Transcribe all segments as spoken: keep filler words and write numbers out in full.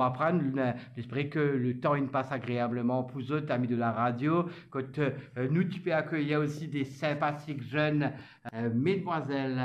aprann, nou espere ke le tan inn pas agreableman pou zot, ami de la radio, kot, euh, nou ti pe akeyir osi de sinpatik zenn, euh, mesdwazel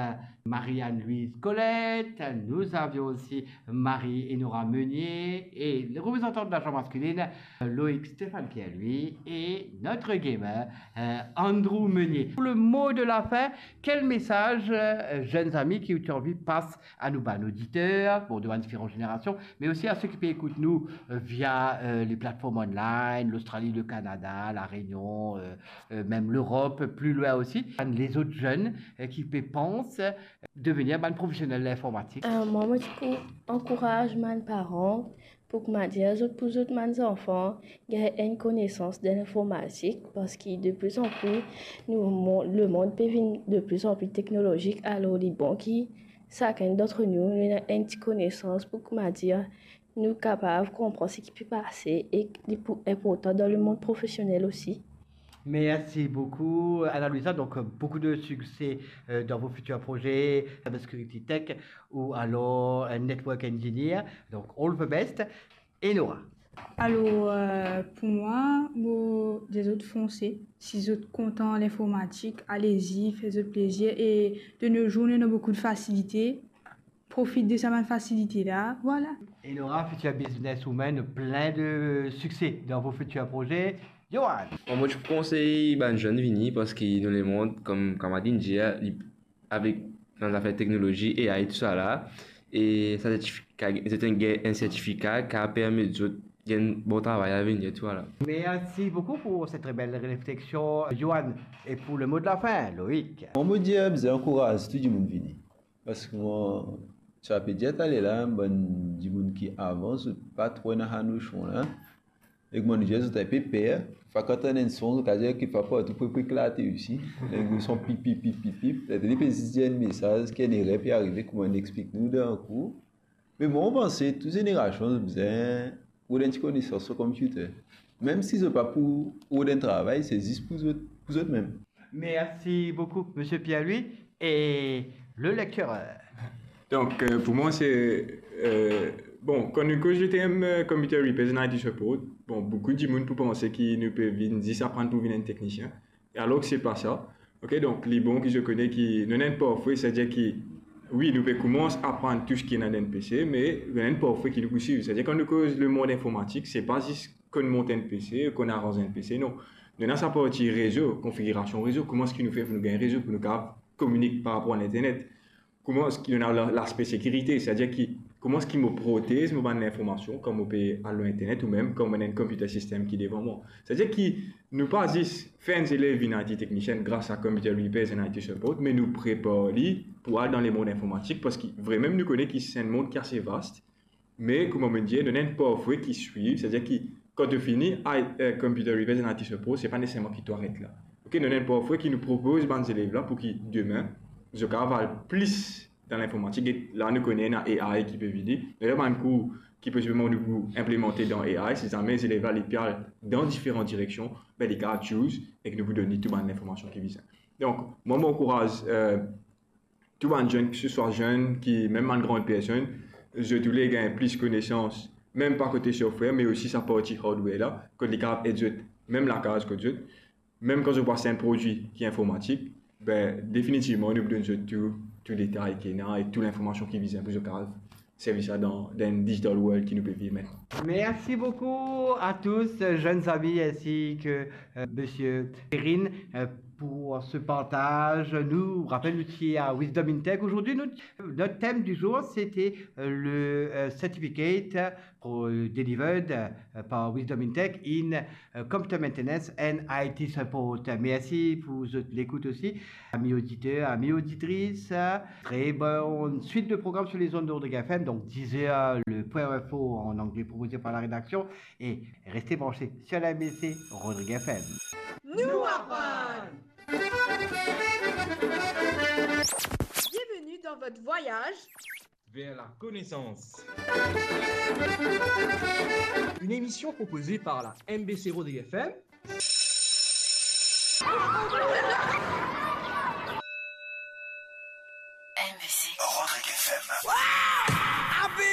Marie-Anne-Louise Colette, nous avions aussi Marie Enora Meunier et le représentant de la gente masculine, Loïc Stéphane Pierre-Louis et notre gamer, euh, Andrew Meunier. Pour le mot de la fin, quel message, euh, jeunes amis, ki ou ti anvi pas a nou bann oditer, bon, de bann diferan zenerasion, me osi a seki pe ekout nou, euh, via, euh, les plateformes online, l'Australie, le Canada, La Réunion, euh, euh, mem Lerop, pli lwin osi. Bann lezot zenn, euh, ki pe pans, euh, devenir bann profesionel linformatik. Euh, mwa, mo ti pou ankouraz bann paran pou, koumadir, zot, pou zot bann zanfan gagn enn konesans dan linformatik, parski de pli an pli, nou, mo-, lemond pe vinn de pli an pli teknolozik, alor li bon ki sakenn d'antre nou, nou ena enn ti konesans pou, koumadir, nou kapav konpran seki pe pase e li pou inportan dan lemond profesionel osi. Merci beaucoup, Ana Luisa. Donc, euh, beaucoup de succès, euh, dans vos futurs projets, cyber security tech ou alors un network engineer. Donc, all the best. Enora. Alors, euh, pour moi, mo dir zot fonse. Si zot kontan linformatik, allez-y, fer zot plezir. Et de nos jours, nou ena boukou de fasilite. Profit de sa bann fasilite la, vwala. Enora, future businesswoman, plein de succès dans vos futurs projets. Johan. Bon, mo ti pou konsey bann zenn vini, parski nou lemond, kom kamarad inn dir, li, avek, dan zafer teknolozi, A I, tousala, e sa sertifika, se enn, enn sertifika ki a permet zot gagn bon travay avenir, tousala. Merci beaucoup pour cette très belle réflexion, Johan. Et pour le mot de la fin, Loïc. Bon, mo dir, bizin ankouraz tou dimoun vini. Parski mwa, sa pe dir taler la, bann dimoun ki avan, zot pa tro ena sa nosion la. Ek mwa, nou dir zot inpe per. Fwa kan tann enn son, zot kapav dir ki fwa partou pou, pou eklate osi. Enn son pip, pip, pip, pip, pip. Li pe zis dir enn mesaz ki enn erer pe arive, kouma nou explik nou dan kou. Me mwa, mo panse tou zenerasion bizin rod enn ti konesans lor computer. Mem si zot pa pou rod enn travay, se zis pou zot, pou zot mem. Merci beaucoup, Monsieur Pierre-Louis. Et le lecteur. Donc, euh, pour moi, c'est, euh, bon, kan nou koz le term, euh, computer repairs and I T support, bon, boukou dimoun pou panse ki nou pe vinn zis aprann pou vinn enn teknisien. Alor ki se pa sa. Ok, donk, li bon ki zot kone ki nou ena enn parfwe, setadir ki, wi, nou pe koumans aprann tou seki ena dan enn P C, me nou ena enn parfwe ki nou pou swiv. Setadir, kan nou koz lemond informatik, se pa zis konn mont enn P C, konn aranz enn P C, non. Nou ena sa parti rezo, konfigirasion rezo, kouma eski nou fer pou nou gagn rezo, pou nou kapav kominik par rapor a linternet. Kouma eski nou ena la, laspe sekirite, setadir ki, kouma eski mo protez mo bann linformasion kan mo pe al lor internet oubien kan mo ena enn computer system ki devan mwa. Setadir ki nou pa zis fer enn zelev vinn I T technician gras a computer repairs and I T support, me nou prepar li pou al dan lemond informatik, parski vremem nou kone ki se enn mond ki ase vast, me kouma mo dir, nou ena enn parfwe ki swiv, setadir ki kan to fini, I, eh, computer repairs and I T support, se pa neseserman ki to aret la. Ok, nou ena enn parfwe ki nou propoz bann zelev la pou ki demin, zot kapav al plis dan linformatik. E la nou kone ena A I ki pe vini. Ena bann kour ki posibleman nou pou inplemante dan A I, si zame zelev la li pe al dan diferan direksion, be li kapav choose ek nou pou donn li tou bann linformasion ki bizin. Donk, mwa, mo ankouraz, eh, tou bann zenn, ki se swa zenn, ki mem bann gran personn, zot oule gagn plis konesans, mem pa kote software, me osi sa parti hardware la, kot li kapav ed zot, mem lakaz kot zot, mem kan zot pou aste enn prodwi ki informatik, be, definitivman, nou pou donn zot tou, tou detay ki ena e tou linformasion ki bizin pou zot kapav servi sa dan, dan digital world ki nou pe viv aster. Merci beaucoup à tous, jeunes amis, ainsi que, euh, Monsieur Perrine, euh, pour ce partage. Nou rapel, nou ti a Wisdom in Tech. Aujourd'hui, notre, notre thème du jour, c'était, euh, le, euh, certificate pour, euh, delivered, euh, par Wisdom in Tech in, euh, computer maintenance and I T support. Merci pour zot lekout osi. Amis auditeurs, amis auditrices, très bonne suite de programme sur les ondes de Rodrigue F M, donc dix heures, le point info en anglais proposé par la rédaction, et restez branchés sur la M B C Rodrigue F M. Nou aprann! Bienvenue dans votre voyage vers la connaissance. Une émission proposée par la M B C Rodrigue F M.